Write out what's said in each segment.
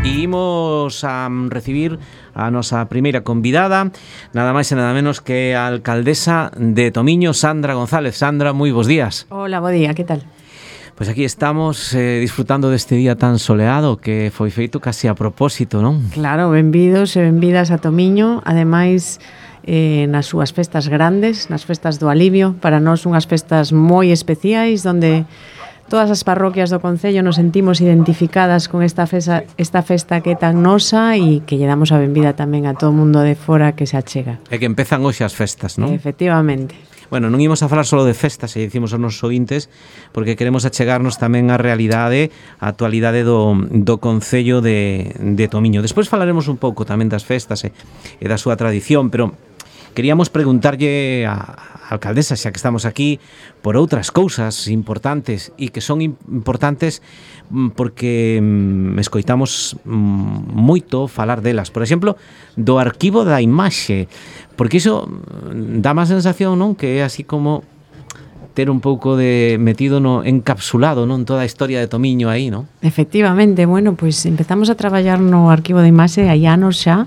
E imos a recibir a nosa primeira convidada, nada máis e nada menos que a alcaldesa de Tomiño, Sandra González. Sandra, moi bos días. Hola, bo día, que tal? Pois aquí estamos disfrutando deste día tan soleado que foi feito casi a propósito, non? Claro, benvidos e benvidas a Tomiño, ademais nas súas festas grandes, nas festas do Alivio, para nós unhas festas moi especiais, onde todas as parroquias do concello nos sentimos identificadas con esta festa que é tan nosa e que lle damos a benvida tamén a todo o mundo de fora que se achega. É que empezan hoxe as festas, non? Efectivamente. Bueno, non imos a falar só de festas, e dicimos aos nosos ouvintes, porque queremos achegarnos tamén á realidade, á actualidade do Concello de Tomiño. Despois falaremos un pouco tamén das festas e da súa tradición, pero queríamos preguntarlle á alcaldesa, xa que estamos aquí, por outras cousas importantes e que son importantes porque escoitamos moito falar delas. Por exemplo, do arquivo da imaxe, porque iso dá má sensación, non? Que é así como ter un pouco de metido encapsulado, non, toda a historia de Tomiño aí, non? Efectivamente, bueno, pois empezamos a traballar no arquivo de imaxe hai anos xa.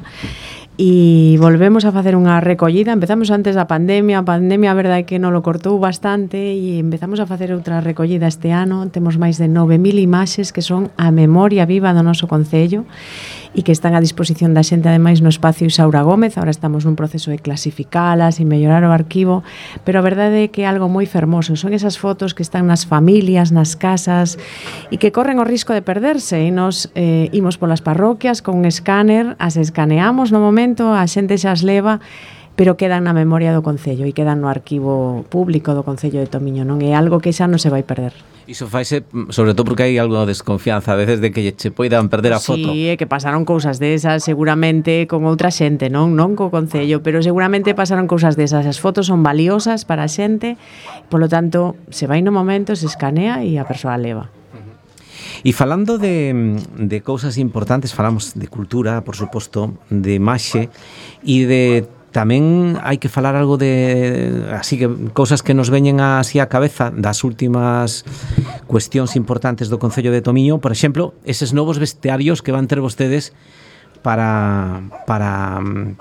E volvemos a facer unha recollida. Empezamos antes da pandemia. A pandemia, a verdade é que non lo cortou bastante e empezamos a facer outra recollida este ano. Temos máis de 9.000 imaxes que son a memoria viva do noso concello e que están a disposición da xente, ademais, no espacio Isaura Gómez. Ahora estamos nun proceso de clasificalas e mellorar o arquivo, pero a verdade é que é algo moi fermoso. Son esas fotos que están nas familias, nas casas e que corren o risco de perderse, e nos imos polas parroquias con un escáner, as escaneamos no momento, a xente xa as leva, pero quedan na memoria do concello e quedan no arquivo público do Concello de Tomiño, non é algo que xa non se vai perder. Iso faise, sobre todo porque hai algo de desconfianza a veces de que che poidan perder a foto. Sí, é que pasaron cousas desas seguramente con outra xente, non co concello, pero seguramente pasaron cousas desas. As fotos son valiosas para a xente, polo tanto, se vai no momento, se escanea e a persoa leva. E falando de cousas importantes, falamos de cultura, por suposto, de imaxe e de tamén hai que falar algo de así que cousas que nos veñen así á cabeza das últimas cuestións importantes do Concello de Tomiño, por exemplo, eses novos vestiarios que van ter vostedes para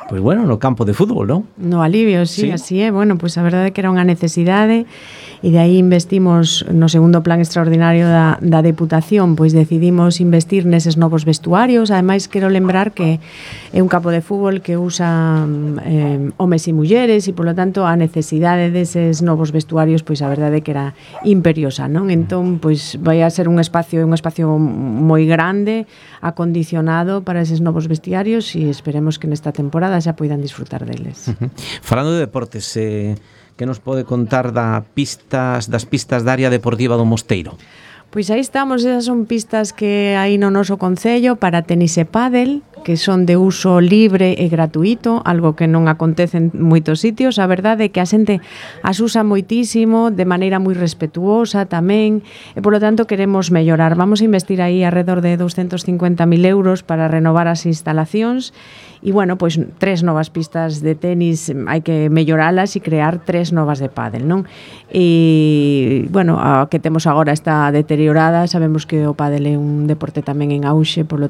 pues bueno, no campo de fútbol, non? No Alivio, sí, así é. Bueno, pues a verdade é que era unha necesidade e de aí investimos no segundo plan extraordinario da Deputación, pois decidimos investir neses novos vestuarios. Ademais, quero lembrar que é un campo de fútbol que usa homes e mulleres e, polo tanto, a necesidade deses novos vestuarios, pois a verdade é que era imperiosa, non? Entón, pois vai a ser un espacio moi grande, acondicionado para eses novos vestiarios e esperemos que nesta temporada xa poidan disfrutar deles. Falando de deportes, que nos pode contar das pistas da área deportiva do Mosteiro? Pois aí estamos, esas son pistas que hai no noso concello para tenis e pádel, que son de uso libre e gratuito, algo que non acontece en moitos sitios. A verdade é que a xente as usa moitísimo, de maneira moi respetuosa tamén, e polo tanto queremos mellorar. Vamos a investir aí alrededor de 250.000 euros para renovar as instalacións. E, bueno, pois 3 novas pistas de tenis hai que melloralas e crear 3 novas de pádel, non? E, bueno, a que temos agora está deteriorada, sabemos que o pádel é un deporte tamén en auxe, polo